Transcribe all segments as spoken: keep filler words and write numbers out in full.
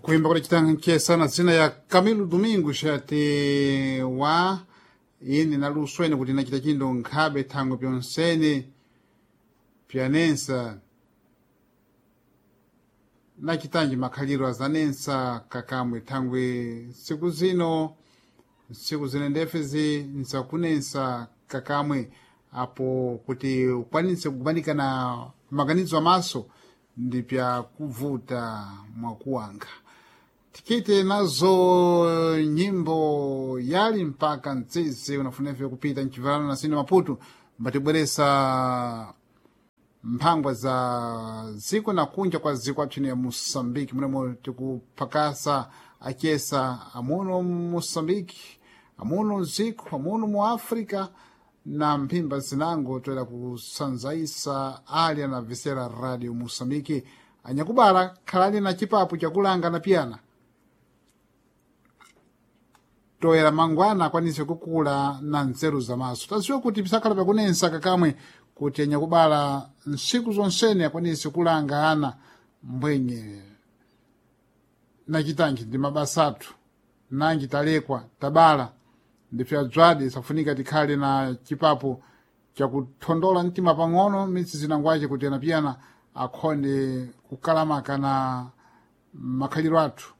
Kuimba kule chitankhesana zina ya Camilo Domingos ati wa ine naluswene kuti nachita chindu nkhabe thangwe pyonsene pyanensa nachitanji makhaliro azanensa kakamwe thangwe ntsiku zino ntsiku zine ndefezi nzakunensa kakamwe apo kuti ukwanitse kukumanikana maganizo amaso ndi pyakuvuta mwakuwanga tikite nazo nyimbo yali mpaka mtsitsi unafunefe kupita mchivalano na sino Maputo mbatibweresa mphangwa za ziko na kunja kwa ziko apchino ya Moçambique munemwe tikuphakasa achesa amuno Moçambique amuno ziko amuno mu África na mphimba zinango toera kusanzaisa ali na visera Radio Moçambique anyakubala khalani na chipapu chakulanga na piyana toera mangwana akwanise kukula na nzeru zamaso taziwa kuti pisakhala pakunensa kakamwe kuti anyakubala ntsiku zonsene akwanise kulanga ana mbwenye nachitanji ndi mabasa athu nanji talekwa tabala ndipya bzwadi safunika tikhale na chipapo chakuthondola mtima pang'ono mitsi zinangwace kuti anapiyana akhonde kukalamaka na makhaliro athu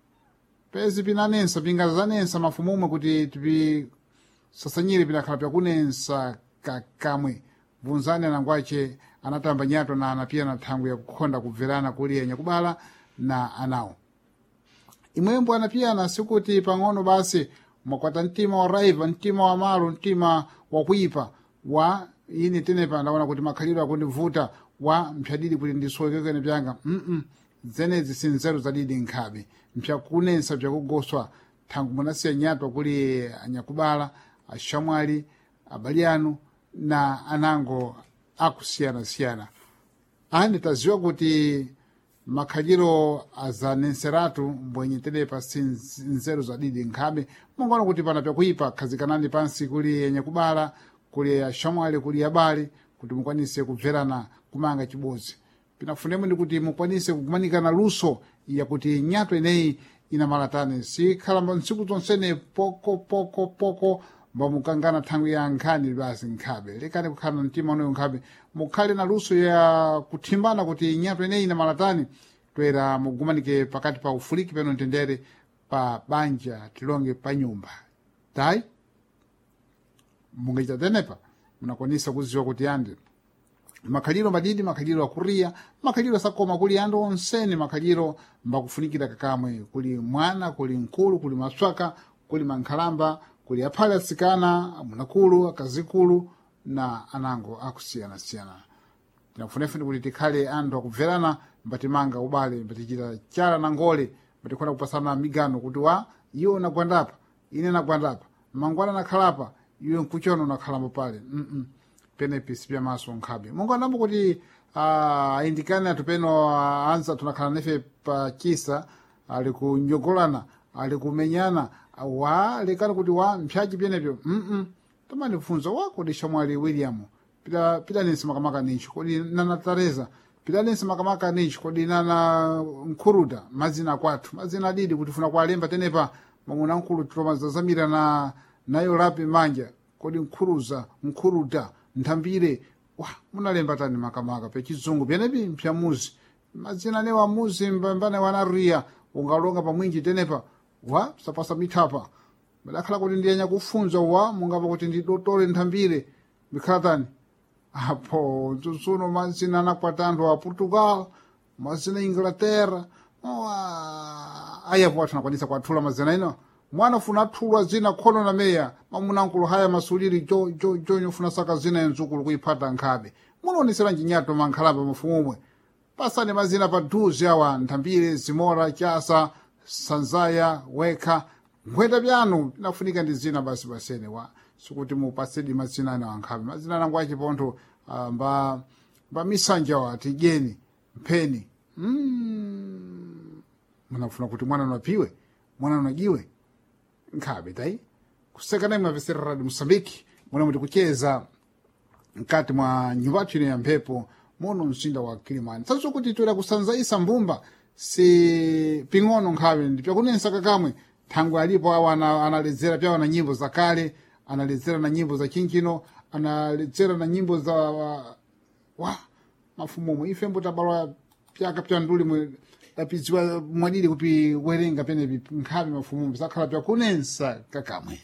pezi pinanensa pingazanensa mafumu umwe kuti tipisasanyire pinakhala pyakunensa kakamwe bvunzani anangwace anatamba nyato na anapiyana thangwi yakukhonda kubverana kuli anyakubala na anawo imwembo anapiyana sikuti pang'ono basi mwakwata mtima wa raiva mtima wa malo mtima wakuipa wa ine tenepa ndaona kuti makhalidwe akundivuta wa mphyadidi kuti ndisowekekene pyanga mm zenezi si nzeru zadidi nkhabe mpyakunensa pyakugoswa thangu munasiya nyatwa kuli anyakubala ashamwali abali anu na anango akusiyanasiyana ani taziwa kuti makhaliro azanenseratu mbwenye tenepa si nzeru zadidi nkhabe mungaona kuti pana pyakuipa khazikanani pansi kuli anyakubala kuli ashamwali kuli abale kuti mukwanise kubverana kumanga chibodzi pinafunemo ndi kuti mukwanise kukumanikana luso yakuti nyato ineyi inamalatani sikhala ntsiku zonsene poko poko poko mbamukangana thangwi ya nkhani basi nkhabe lekani kukhala na mtima unoyo nkhabe mukhale na luso ya kuthimbana kuti nyato ineyi inamalatani toera mugumanike pakati pa ufuliki peno mtendere pa banja tilonge pa nyumba tayi mungachita tenepa munakwanisa kuziwa kuti andi makhaliro madidi makhaliro akuriya makhaliro asakoma kuli andu onsene makhaliro mbakufunikira kakamwe kuli mwana kuli mkulu kuli maswaka kuli mankhalamba kuli aphale atsikana amunakulu akazikulu na anango akusiyanasiyana tinakufunefuni kuti tikhale anthu akubverana mbatimanga ubale mbatichita chala na ngole mbatikhona kupasana migano kuti wa iwe unagwandapa ine nagwandapa mangwana nakhalapa iwe nkuchono unakhalambo pale mm -mm. penepi sipyamaso nkhabe munganambo kuti uh, ayindikane athu peno uh, anza tunakhala nefe pa chisa ali kunyogolana ali kumenyana wa lekani kuti wa mpyaji pyenepyo mm tamanifunza wa kodi shamwali William pita pitanense makamaka nicho kodi nana Teresa pitanense makamaka nicho kodi nana Nkhuruta mazina akwathu mazina adidi kuti funa kualemba tenepa mwamuna nkulu tilomazazamira na nayo lapi manja kodi nkhuruza nkhuruta nthambire wa munalemba tani makamaka pechizungu pyenepi mpyamuzi mazina anewa amuzi mbambane wanariya ungalonga pamwinji tenepa wa sapasa mithapa madakhala kuti ndiyanya kufunza wa mungapa kuti ndidotole nthambire mikhala tani apo mtsutsuno mazina anakwata anthu a Portugal mazina Inglaterra ayapo athu anakwanisa kuathula mazina ino mwana funa athulwa zina khono na meya mamunankulu haya masuliri jo jo jo nyofuna saka zina enzukulu kuiphata nkhabe munaoneseranji nyato mankhalamba mafumumwe pasani mazina padhuze awa nthambire zimora chasa sanzaya wekha nkhweta pyanu pinafunika ndi zina basi basene wa sikuti mupasedi mazina ana ankhabe mazina anango achipontho uh, mba mba misanja wa tijeni mpheni mm. munafuna kuti mwana unapiwe mwana unajiwe nkhabe tayi kusekana imwe avesera Radio Moçambique muna muti kucheza mkati mwa nyumba ino ya mphepo muno mzinda wa Kilimani saso kuti toera kusanzaisa mbumba Si ping'ono nkhawe ndi pyakunensa kakamwe thangwe alipo awo ana- analedzera pyawo na nyimbo za kale, analedzera na nyimbo za chinchino, analedzera na nyimbo za wa mafumumo. Ife mbutabalwa pyaka pya nduli mwe tapidziwa mwadili kupi werenga penepi nkhawe mafumumo zakhala pyakunensa kakamwe.